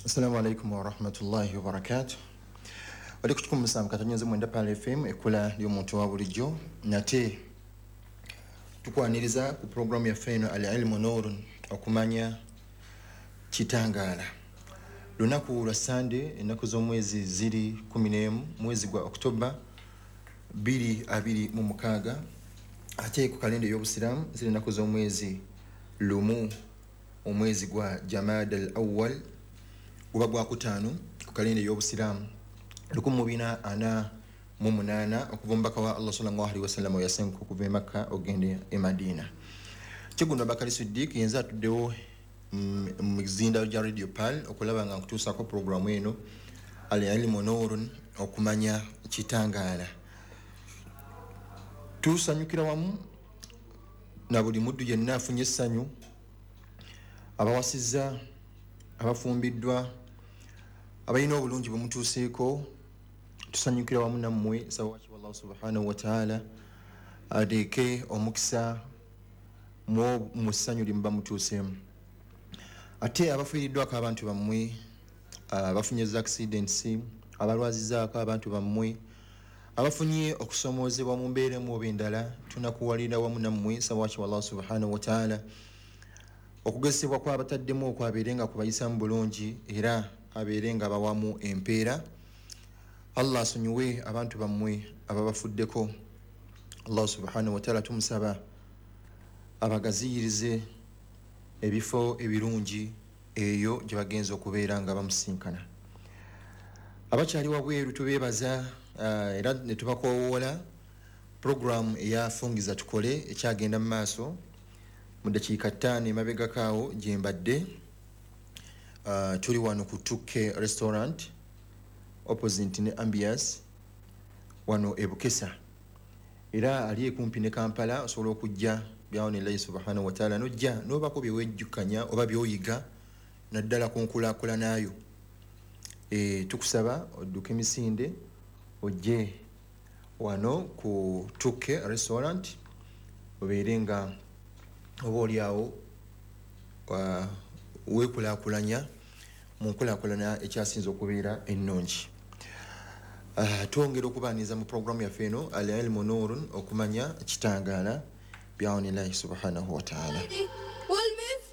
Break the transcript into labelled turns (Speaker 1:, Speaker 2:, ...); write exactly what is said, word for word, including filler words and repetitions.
Speaker 1: Assalamu alaikum warahmatullahi wabarakatuh. Oli ku kikumi musanvu katonnyeze mwenda Pearl F M, ekkula ly'omuntu wa bulijjo. Nate tukwaniriza ku pulogulaamu yaffe eno Al Ilmu Nurun, okumanya kitangaala. Lunaku lwa Sande, ennaku z'omwezi ziri kumi n'emu, mwezi gwa Oktoba bbiri abiri mu mukaaga, ate ku kalenda ey'obusiraamu ziri ennaku z'omwezi lumu, omwezi gwa Jamada al Awwal, guba gwa kutaano ku kalenda ey'obusiraamu lukumi mu bina ana mu munaana, okuva omubaka wa Allah sallallahu alaihi wasallam yasenguka okuva e Makka ogenda e Madina. Kigundo Bakari Siddiq yenze atuddewo mu mizinda gya Radio Pearl okulaba nga nkutuusaako pulogulaamu eno Al Ilmu Nurun, okumanya kitangaala. Tusanyukira wamu na buli muddu yenna afunye essanyu, abawasizza, abafumbiddwa, abalina obulungi bwe mutuuseeko, tusanyukira wamu nammwe. Sawaki wallahu subhanahu wa ta'ala ateeke omukisa mu ssanyu lye muba mutuuseemu. Ate abafiiriddwako abantu bammwe, abafunye za accidents, abalwazizaako abantu bammwe, abafunye okusomoozebwa mu mbeera emu oba endala, tunakuwalira wamu nammwe. Sawaki wallahu subhanahu wa ta'ala okugezesebwa kw'abataddemu okwabeere nga kubayisamu bulungi, era abeere nga bawamu empeera. Allah asonyiwe abantu bammwe ababafuddeko. Allah subhanahu wa ta'ala tumusaba abagaziyirize ebifo ebirungi eyo gye bagenza okubeera nga bamusinkana. Abakyali wabweru tubeebaza, uh, era ne tubakoowoola pulogulaamu eyafungiza tukole ekyagenda mu maaso mu ddakiika ttaano emabegako awo gye mbadde. Uh, tuli wano ku Tuke Restaurant opposite ne Ambias wano e Bukesa, era ali ekumpi ne Kampala. Osobola okujja byawonillahi subhanahu wa ta'ala, nojja n'obako bye wejjukanya oba by'oyiga naddala ku nkulaakulanayo. E, tukusaba odduke emisinde ojje wano ku Tuke Restaurant obeere nga oba oliawo uh, weekulaakulanya mu nkulaakulana ekyasinze okubeera ennungi. Uh, twongera okubaaniriza mu pulogulaamu yaffe eno Al Ilmu Nurun, okumanya kitangaala, byawonillahi subhanahu wa ta'ala.